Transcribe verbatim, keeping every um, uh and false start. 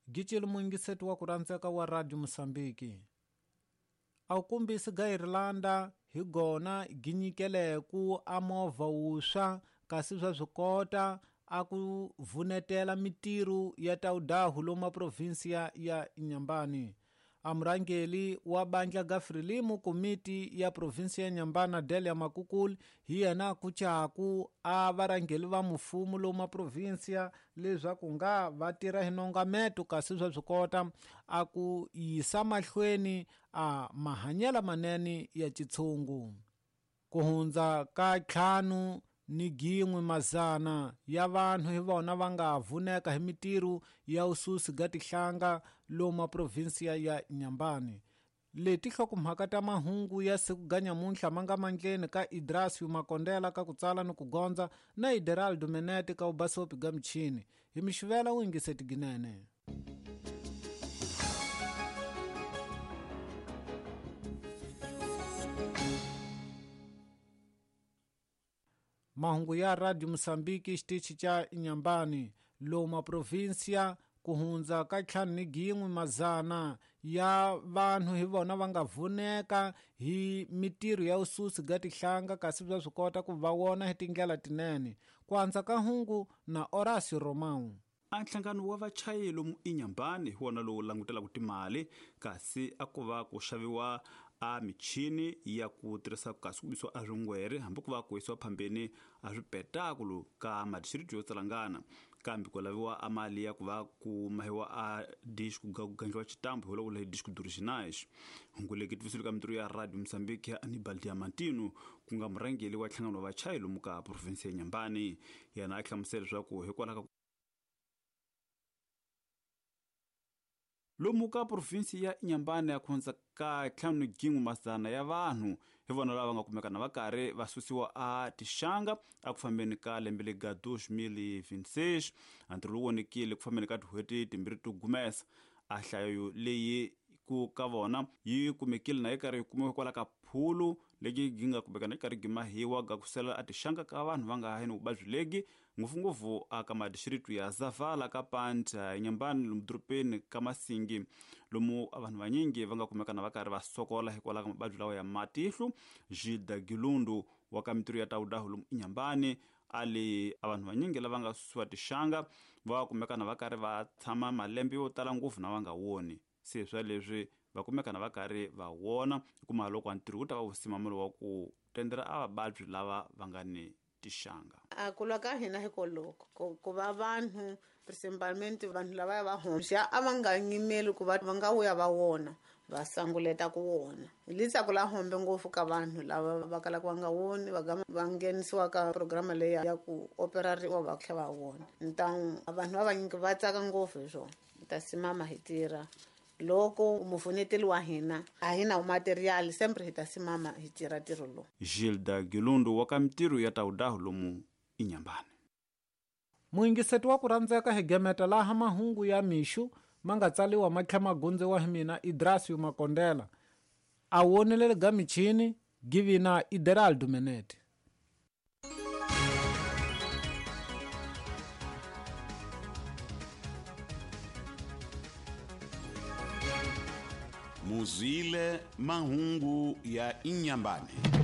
Gicile muyingiseti wa ku rhandzeka wa Radio Mosambiki. A wu kombisi ga Irlanda hi gona gi nyikeleku a movha wuswa kasi swa swi kota a ku vunetela mitirho ya tawudahu lomu provinsia ya Inhambane. A murhangeli wa bandla ga Frelimo komiti ya provinsia ya Inhambane Delia Makukul hi yena ku chaku a varhangeli va mfumo lomu provinsia leswaku nga va tirha hi nongameto kasi swa swi kota a ku yisa mahlweni a mahanyelo manene ya xitshungu. Ku hundza ka ntlhanu ni gin'we mazana ya vanhu hi vona va nga vuneka hi mitirho ya ususi ga tihlanga lomu provinsia ya Inhambane. Leti hlokomhaka ta mahungu ya siku ga nyamuntlha ma nga mandleni ka Idrasio Makondela ka ku tsala ni ku gondza na Ideraldo Menete ka ubasopi ga michini. Hi mixivela wu yingiseti ginene. Mahungu ya Radio Mosambiki xitichi xa Inhambane lomu provinsia ku hundza ka ntlhanu ni gin'we mazana ya vanhu hi vona va nga vuneka hi mitirho ya ususi ga tihlanga kasi bya swi kota ku va wona hi tindlela tinene. Ku andza ka hungu na Horacio Romão. A nhlangano wa vachayeri lomu Inhambane hi wona lowu langutelaka timali kasi a ku va ku xaviwa a michini ya ku tirhisa kasi ku bisiwa a swingwere hambi ku va ku yisiwa phambeni a swipetakulu ka madisiriti yo tsalangana kambe ku laviwa a mali ya ku va ku mahiwa a dish ku gandliwa xitambu hi loko dish ku originais. Hungu leki tivisile ka mitirho ya Radio Mosambiki ya Anibal Diamantino ku nga murhangeri wa nhlangano wa vachayeri lomu ka provinsi ya Inhambane. Yena a hlamusela leswaku hikwalaho ka lomu ka provinsi ya Inhambane ya khonza ka ntlhanu gin'we mazana ya vanhu hi vona lava nga kumeka na va karhi va susiwa a tixanga a ku fambeni ka lembe lega dois mil e vinte e seis. A ntirho lowu vonekile ku fambeni ka tin'hweti timbirhi to gumesa. A hlayo leyi ku ka vona yi kumekile na yi karhi yi kumiwa hikwalaho ka phulu legi gi nga kumeka na yi karhi gi mahiwa ga ku sela a tixanga ka vanhu va nga ha ni vuvabyi legi ngopfungopfu aka madisiritu ya Zavala ka Panta Inhambane lomu dorobeni ka Masingi lomu vanhu vanyingi va nga kumeka na va karhi va sokola hikwalaho ka mavabyi lawa ya matihlo. Gilda Gilundu wa ka mitirho ya tawudahu lomu Inhambane a li a vanhu vanyingi lava nga susiwa tixanga va kumeka na va karhi va tshama malembe yo tala ngopfu na va nga woni se swa leswi va kumeka na va karhi va wona kuma loko ntirho wu ta va wu simamelo wa ku tendera a vavabyi lava va nga ni tixanga. A ku lwa ka hina hikoloko ku ku va vanhu principalmente vanhu lava va homxa a va nga nyimeli ku va va nga vuya va wona va sanguleta ku wona. Litsako la hombe ngopfu ka vanhu lava va kalaka va nga woni va va nghenisiwa ka programa leyi ya ku operariwa va tlhela va wona. Ntan vanhu va vanyingi va tsaka ngopfu hi swona. Ta simama hi tirha loko muvuneteli wa hina a hi na material sempre hi ta simama hi tirha ntirho lowu. Gilda Gilundu wa ka mitirho ya tawudahu lomu Inhambane. Muyingiseti wa ku rhandzeka hi gemeta laha mahungu ya mixu ma nga tsaliwa ma tlhela ma gondziwa hi mina Idrasio Makondela. A wonelele ga michini givina Ideraldo Menete. Muzile mahungu ya Inhambane.